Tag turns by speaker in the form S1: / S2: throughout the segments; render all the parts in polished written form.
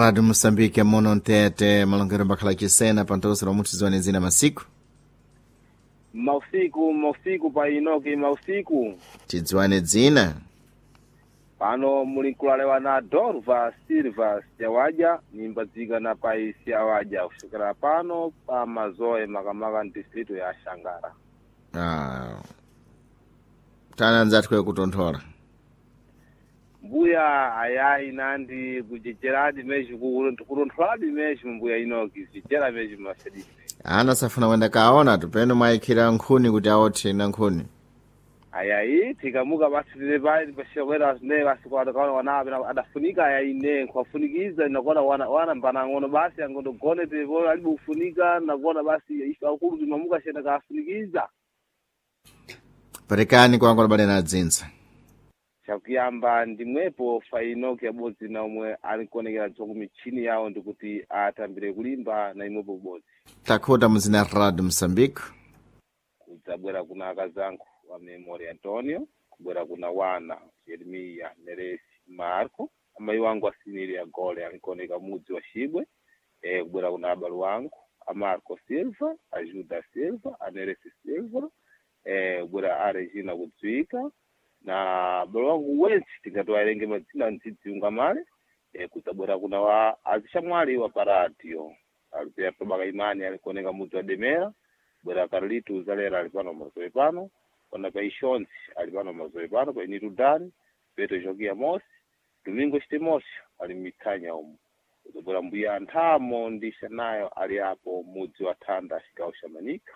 S1: Rádio Moçambique, mono ntete malongero mbakhala chisena pantoso lomwe tiziwane zina masiku.
S2: Mausiku, mausiku pa Inoki, mausiku.
S1: Tidziwane dzina.
S2: Pano muli nkulalewa na Dorva Silva Siawadya, nimbadzika na pai Siawadya kusokera pano pa Mazoe makamaka distrito ya Shangara.
S1: Ah. Tana anzathu kwe kutonthola.
S2: Mbuya ayayi nandi kujejeradi meji kutontholadi meji mbuya Inoki, jejera meji mashadidi.
S1: Ana safuna kwenda kaona tupeno mwayikhira nkhuni kuti aothe na nkhuni.
S2: Ayayi tikamuka basi tile pai pashokwera ne basi kwa wana wana adafunika ayayi ne kwafunikiza nakona wana wana mbanang'ono basi angondogone tepo alibe kufunika nakona basi ife akulu timamuka shena kafunikiza.
S1: Perekani kwangu labale na dzinza.
S2: Chakuyamba ndimwepo fainoki yabodzi na omwe alikuonekera dzoku michini yawo ndikuti atambire kulimba na imwepo kubodzi.
S1: Takhuta muzina Radio Moçambique.
S2: Kudzabwera kuna akazangu wa Memory Antonio, kubwera kuna wana Jeremiya Neresi Marco, amayi wangu asiniri ya gole alikuoneka mudzi wa Shibwe, kubwera kuna abalu wangu a Marco Silva, a Juda Silva, a Neresi Silva, kubwera a Regina kudzwika na abalu wangu wense tingatiwaerenge madzina ndzidziunga male, kudzabwera kuna wa azishamwali wa paradio Alberto Bakaimani alikuoneka mudzi wa Demera, bwera Carlito Uzalera ali pano mazoe pano, pana pa Ishonzi ali pano mazoe pano, pa Initu Dani, Petro Jogia Mosi, Domingo Chitimosio ali mithanya umu. Kudzabwera mbuya Anthamo ndi Shanayo ali apo mudzi wa Thanda chigawo cha Manika.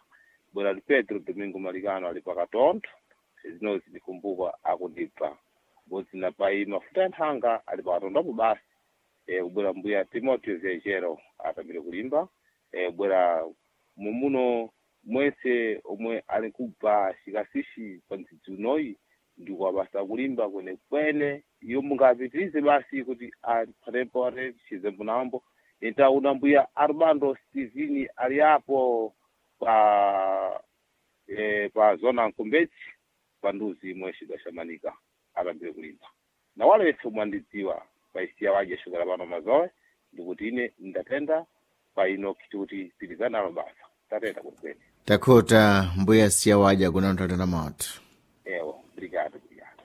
S2: Bwera ndi Pedro Domingo Malikano ali pakatontho, zinozi ndikumbuka akundibva. Bodzi na pai mafuta ya nthanga ali pakatonthopo basi. Kubwera mbuya Timoteo Zejero atambire kulimba. Kubwera mumuno mwese omwe ali kubva chikasishi pa ndzidzi unoyi ndikuwabasa kulimba kwenekwene iyo mungapitirize basi kuti aphatepo ate chizembo nambo itauna mbuya Armando Steveni ali apo pa pa zona Nkombetsi pa nduzi imwe cigawo cha Manika atambire kulimba na wale wese omwe andidziwa paisiya waje shukera pano mazoe ndikuti ine ndatenda pa ino kuti pirizanalo basa tatenda kwenikweni.
S1: Takhuta mbuya siya waja kuna mtata na moto.
S2: Ewo, obrigado, obrigado.